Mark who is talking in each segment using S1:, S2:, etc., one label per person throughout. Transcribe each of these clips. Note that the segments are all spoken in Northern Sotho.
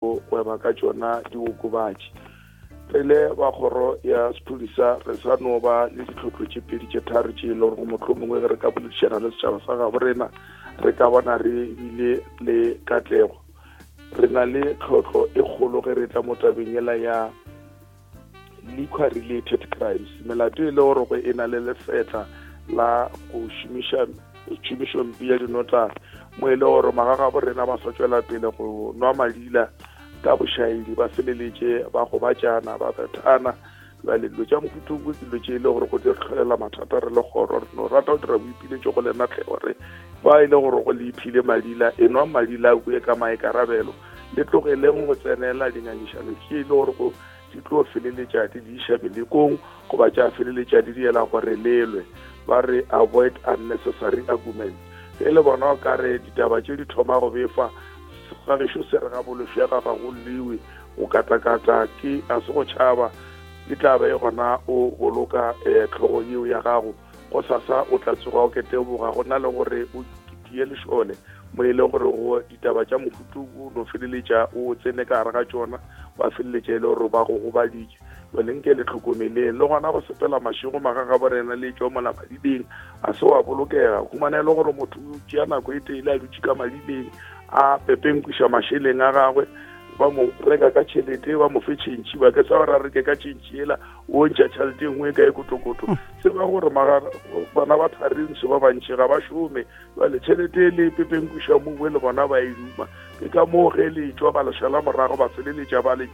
S1: Go gweba ka tšona diokobatši. Re le ba kgoro ya sephodisa re sa no ba le ditlhohlo tše pedi tše tharo tše e le gore mohlomongwe ge re ka boledišana le setšhaba sa gabo rena re ka bona re bile le katlego. Re na le tlhohlo e kgolo ge re tla mo tabeng yela ya liquor related crimes, melato e le gore go e na le lefetla la go šomiša tšhomišompe ya dinotagi, mo e le gore magagabo rena ba sa tšwela pele go nwa madila ka bošaedi, ba feleletše ba gobatšana, ba bethana. Bjale dilo tša mohuta wo ke dilo tše e le gore go di re tlholela mathata re le kgoro. Re no rata go dira boipiletšo go lena tlhe gore ba e le gore go le iphile madila, e nwa madila a kue ka maikarabelo, le tlogeleng go tsenela dingangišano tše e le gore go di tlo feleletša di di iša melekong goba tša feleletša di diela gore lelwe. Ba re avoid unnecessary arguments. Ge le bona o ka re ditaba tše di thoma go befa, ga gešo se re ga bolofega ga go lliwe, go katakata ke a se go tšhaba, e tla ba e gona o boloka eh, tlhogo yeo ya gago. Gosasa o tla tsoga o keteboga go na le gore o tie lešole mo e le gore go ditaba tša mohutu o no feleletša o tsene ka gare ga tšona, ba feleletša e le gore ba go gobaditše. Jale nke le tlhokomeleng le gona go sepela mašego magagabo rena le tšwa mola madibeng a se wa bolokega. Humana e le gore motho o tšea nako e tele a dutše ka madibeng a pepenkwiša mašeleng a gagwe, ba mo reka ka tšhelete, ba mo fe tšhentšhi, ba ke sa gore a reke ka tšhentšhi ela, o ntšha tšhelete e nngwe e kae kotokoto. Tseba gore bana ba tharintsho ba bantši ga ba šome, bjale tšhelete e le pepenkwiša mongwe le bona ba e duma. Ke ka moo ge le tšwa ba le šala morago, ba feleletša ba le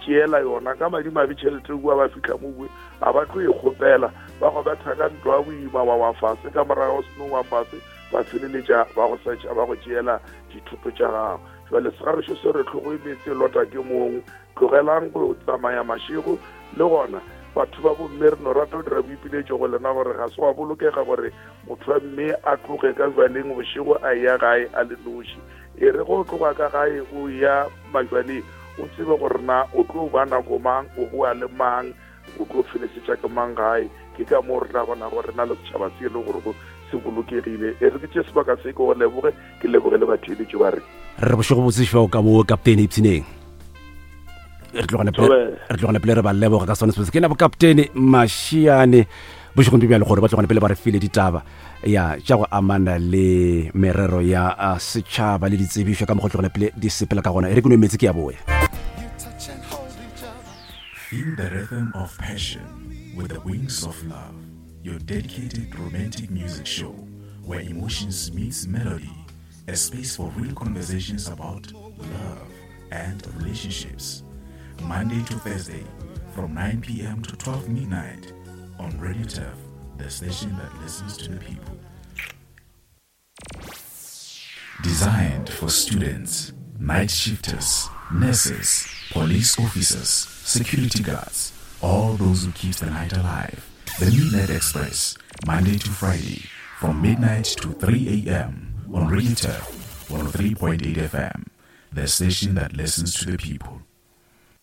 S1: tšeela yona ka madimabe. Tšhelete kua ba fihla mongwe ga ba tlo e kgopela, ba go betha ka ntlo ya boima wa wa fase, ka morago seno wa fase ba feleletša ba go setšha ba go tšeela dithoto tša gago. Jale segagešo se re tlhogo e meetse e lota ke mong. Tlogelang go tsamaya mašego. Le gona batho ba bomme re no rata go dira boipiletšo go lena gore ga se wa bolokega gore motho wa mme a tloge ka jwaleng bošego a eya gae a le noši. E re go tloga ka gae o ya majwaleng o tsebe gore na o tlo ba nako mang, o boa le mang, o tlo felesetša ke mang gae. Ke ka moo re tla bona gore na le setšhaba se e le gore se bolokegile. E re ke tše sebaka se ke go leboge, ke leboge le batheeletši ba re.
S2: Re bošego botse šwa ka bo kaptene Ipshineng. Re tlogane pele re ba leboga ka sone se ke na bo kaptene Mashiane bošegong bjo bjale gore ba tlogane pele ba re file ditaba ya tša go amana le merero ya setšhaba le ditsebišo ka mokgwa tlogane pele di sepela ka gona. E re ke nwe metsi ke ya boya.
S3: Feel the rhythm of passion with the wings of love, your dedicated romantic music show where emotions meets melody, a space for real conversations about love and relationships. Monday to Thursday from 9 p.m. to 12 midnight on Radio Turf, the station that listens to the people. Designed for students, night shifters, nurses, police officers, security guards, all those who keep the night alive. The Midnight Express, Monday to Friday, from midnight to 3 a.m. on Radio Turf 103.8 FM, the station that listens to the people.